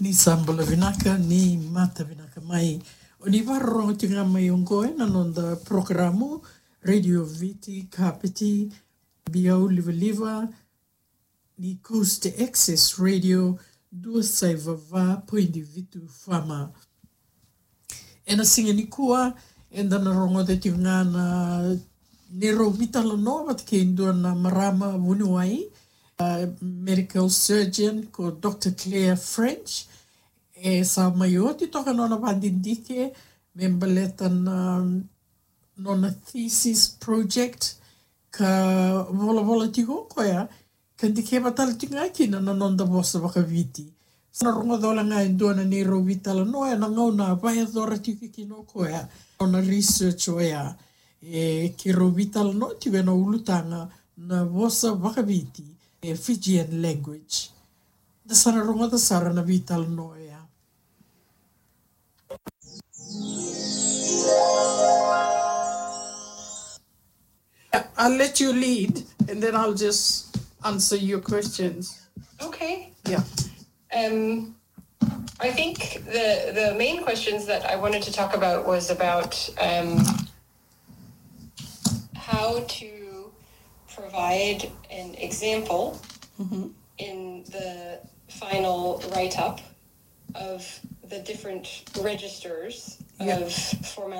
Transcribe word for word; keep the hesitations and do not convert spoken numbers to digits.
Ni sa bula vinaka, ni mata vinaka mai. O ni vakarorogo tiko ga mai oqo ena noda porokaramu Radio Viti Kapiti, biau livaliva ni Coast Access Radio, dua saiva va poidi vitu F M. Ena siga nikua, eda na rogoca tiko ga na neirau veitalanoa vata kei dua na marama vuniwai, a medical surgeon ko Doctor Claire French. E sa mai oti toka nona vakadidike me baleta na nona thesis project ka volavola tiko o koya, ka dikeva tale tiko ga kina na noda vosa vakaviti. Sa na rogoca wale ga e dua na neirau veitalanoa ena gauna a vakayacora tiko kina o koya nona research oya. E keirau veitalanoa tiko ena ulutaga na vosa vakaviti, e Fijian language. Da sa na rogoca sara na veitalanoa oya. I'll let you lead, and then I'll just answer your questions. Okay. Yeah. Um, I think the the main questions that I wanted to talk about was about um, how to provide an example in the final write up of the different registers Yeah. of formal